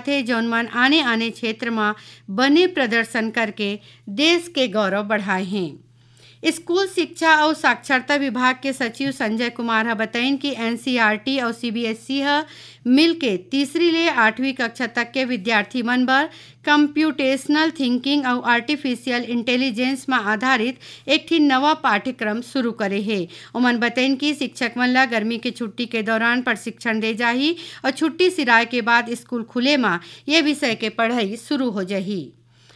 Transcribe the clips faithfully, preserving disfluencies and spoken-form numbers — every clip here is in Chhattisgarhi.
थे, जौन मन आने-आने क्षेत्र म बने प्रदर्शन करके देश के गौरव बढ़ाए हें। स्कूल शिक्षा अउ साक्षरता विभाग के सचिव संजय कुमार ह बतइन कि एनसीईआरटी अउ सीबीएसई ह मिलके तीसरी ले आठवीं कक्षा तक के विद्यार्थी मन बर कंप्यूटेशनल थिंकिंग अउ आर्टिफिशियल इंटेलिजेंस म आधारित एक ठिन नवा पाठ्यक्रम शुरू करे हे। ओमन बतइन कि शिक्षक मन ल गर्मी के छुट्टी के दौरान प्रशिक्षण दे जाही अउ छुट्टी सिराए के बाद स्कूल खुले म ये विषय के पढ़ाई शुरू हो जाही।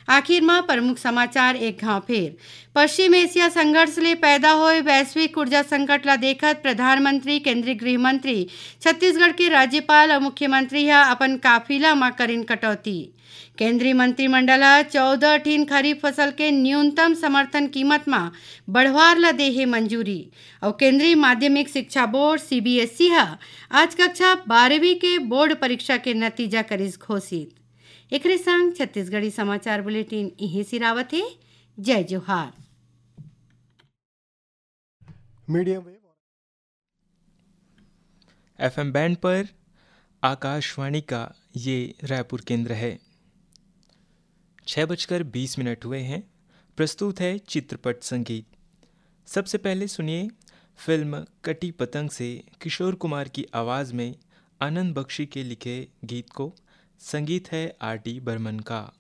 आखिर म प्रमुख समाचार एक घाव फेर। पश्चिम एशिया संघर्ष ले पैदा होए वैश्विक ऊर्जा संकट ला देखत प्रधानमंत्री, केंद्रीय गृह मंत्री, छत्तीसगढ़ के राज्यपाल अउ मुख्यमंत्री ह अपन काफिला म करिन कटौती। केंद्रीय मंत्रिमंडल ह चौदह ठिन खरीफ फसल के न्यूनतम समर्थन कीमत म बढ़वार ला दे हे मंजूरी। अउ केंद्रीय माध्यमिक शिक्षा बोर्ड, सीबीएसई ह आज कक्षा बारहवीं के बोर्ड परीक्षा के नतीजा करिस घोषित। एकरे संग छत्तीसगढ़ी समाचार बुलेटिन इहें सिरावत हे। जय जोहार। मीडियम वेव एफएम बैंड पर आकाशवाणी का ये रायपुर केंद्र है। छः बजकर बीस मिनट हुए हैं। प्रस्तुत है चित्रपट संगीत। सबसे पहले सुनिए फिल्म कटी पतंग से किशोर कुमार की आवाज़ में आनंद बख्शी के लिखे गीत को। संगीत है आर डी बर्मन का।